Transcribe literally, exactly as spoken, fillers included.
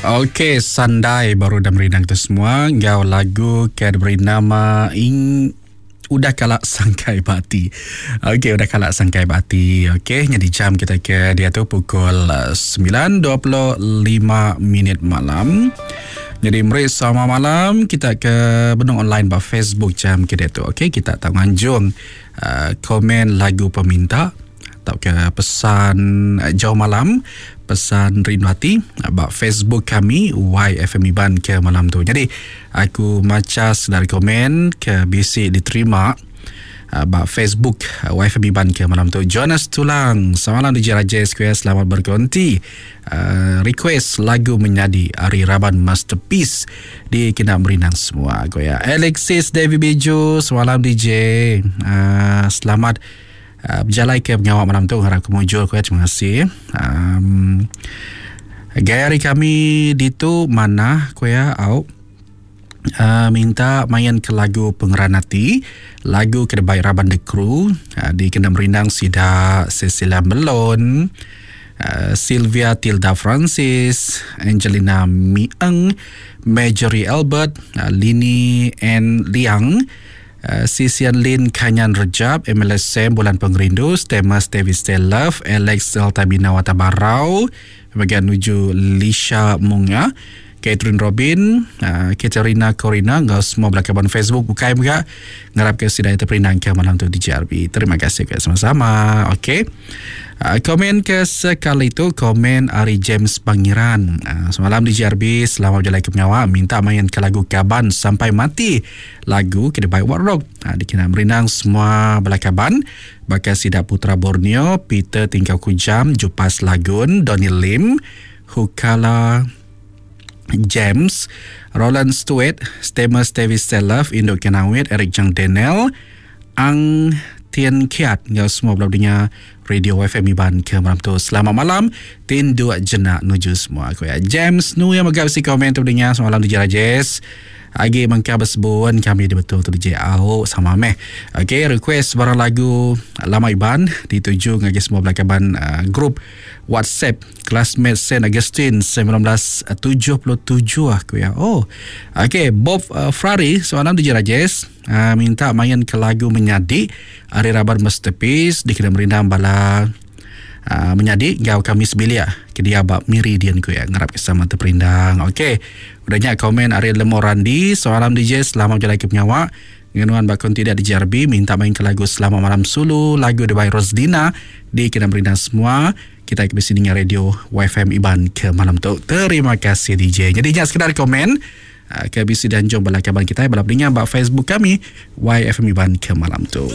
Okey, sandai baru dah merindang kita semua enggau lagu ke diberi nama ing udah kala sangkai bati. Okey, udah kala sangkai bati. Okey, nyadi jam kita ke dia tu pukul eh, sembilan dua puluh lima minit malam. Jadi meri sama malam kita ke benung online ba Facebook jam ke dia tu. Okey, kita tak nganjung uh, komen lagu peminta atau ke pesan uh, jauh malam, pesan rindu hati uh, ba Facebook kami Y F M Iban ke malam tu. Jadi aku maca sedar komen ke bisi diterima uh, ba Facebook uh, Y F M Iban ke malam tu. Jonas Tulang, semalam di D J Raja S Q S, selamat berkonti. Uh, request lagu menyadi Ari Raban Masterpiece di kena merindang semua. Aku ya. Alexis David Biju, semalam D J. Uh, selamat Uh, berjalan ke pengawal malam tu, harap kemujur aku ya. Terima kasih. Um, gaya hari kami di tu mana aku ya au. Uh, minta main ke lagu Pengeranati, lagu Kedebai Raban The Crew, uh, di kena merindang sida Cecilia Melon, uh, Sylvia Tilda Francis, Angelina Mieng, Marjorie Albert, uh, Lini N Liang, Uh, Sisian Lin Kanyan Rejab, M L S M Bulan Pengerindu, Stemas Davis Love, Alex Delta Bina Watabarau, bagian nuju Lisha Munga, Catherine Robin, uh, Katerina Corina, ngau semua belakang Facebook bukai juga. Ngarap ke sidai terperindang ke malam tu di J R B. Terima kasih ke sama-sama. Okey. Uh, komen ke sekali tu komen Ari James Pangeran. Uh, semalam di J R B selamat berjalan ke pengawal, minta main ke lagu Kaban Sampai Mati, lagu Kedebai What Rock. Uh, dikena merindang semua belakaban bakal Sidak Putra Borneo, Peter Tingkau Kujam, Jupas Lagun, Donny Lim, Hukala James, Roland Stewart, Stemus Davis Self, Indo Kenawit, Eric Jang Daniel, Ang Tien Kiat, ngau semua belah dengar Radio F M Iban ke malam tu. Selamat malam, tindu jenak nuju semua. Aku ya James Nu yang megap si komen tu dengar semalam di Jerajes. Agi mengka bersebun kami di betul tu D J Au sama meh. Okey, request barang lagu lama Iban dituju ngagi semua belakaban uh, grup WhatsApp classmate Saint Augustine sembilan belas tujuh puluh tujuh aku ya. Oh. Okey, Bob uh, Ferrari semalam D J Rajes uh, minta main ke lagu Menyadi Ari Raban Masterpiece dikena merindang bala uh, menyadi gau kami sebilia ke dia bab miri dian ku ya ngarap ke sama terperindang. Okey. Udahnya komen Ari Lemo Randi semalam D J selamat berjalan ke pengawa ngenuan bakon tidak di J R B minta main ke lagu Selamat Malam Sulu lagu The by Rosdina di kena merindang semua. Kita ke sini dengan radio Y F M Iban ke malam tu. Terima kasih D J. Jadi jangan sekedar komen ke B C dan jom bala kaban kita bala pendengar bak Facebook kami Y F M Iban ke malam tu.